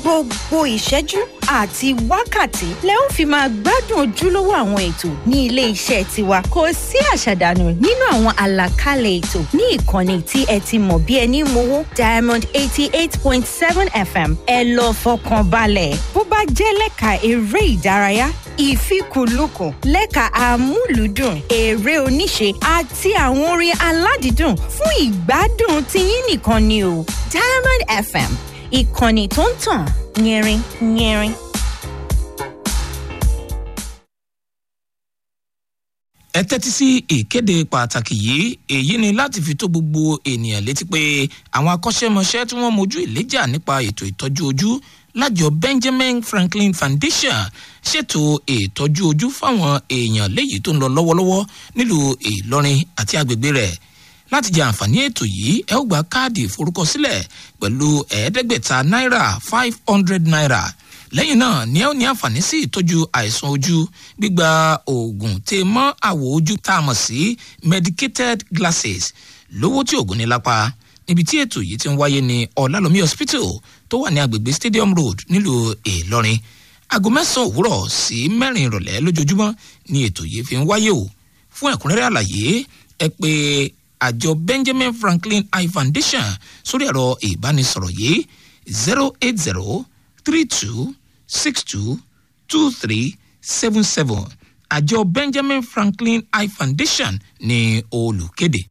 Gbogbo ìṣẹ́jú àti wákàtí lẹ ó fi máa gbádùn ojúlówó àwọn ètò ní ilé iṣẹ́ tiwa. Kò sí àṣàdànù nínú àwọn àlàkalẹ̀ ètò ní ìkànnì tí ẹ ti mọ̀ bí ẹni mowó, Diamond 88.7 FM. Ẹ lọ fọkàn balẹ̀, bó bá jẹ́ lẹ́ka eré ìdárayá, ìfikùnlukùn lẹ́ka amúlùúdùn, eré oníṣe àti àwọn orin aládìídùn fún ìgbádùn tiyín nìkan ni o. Diamond FM, ìkànnì tó ń tàn yẹrin yẹrin. Ẹ tẹ́tí sí ìkéde pàtàkì yìí. Èyí ni láti fi tó gbogbo ènìyàn létí pé àwọn akọ́ṣẹ́mọṣẹ́ tí wọ́n mojú ìléjà nípa ètò ìtọ́jú ojú lájọ Benjamin Franklin Foundation ṣètò ìtọ́jú ojú fáwọn èèyàn léyìí tó ń lọ lọ́wọ́lọ́wọ́ nílùú Ìlọrin àti agbègbè rẹ̀. Láti jẹ àǹfààní ètò yìí, ẹ ó gba káàdì ìforúkọsílẹ̀ pẹ̀lú 500 náírà, ₦500. Lẹ́yìn náà ni ẹ ó ní àǹfààní sí ìtọ́jú àìsàn ojú, gbígba oògùn tè mọ́ àwọ̀ ojú tá a mọ̀ sí medicated glasses lówó tí oògùn ní lápá. Níbi tí ètò yìí ti ń wáyé ní Ọ̀làlómi Hospital tó wà ní agbègbè Stadium Road nílùú Ìlọrin. Aago 9 òwúrọ̀ sí 4 ìrọ̀lẹ́ lójoojúmọ́ ni ètò yìí fi ń wáyé o. Fún ẹ̀kúnrẹ́rẹ́ àlàyé, ẹ pè àjọ Benjamin Franklin Eye Foundation sórí ẹ̀rọ ìbánisọ̀rọ̀ yìí: 08032622377. Àjọ Benjamin Franklin Eye Foundation ní olùkéde.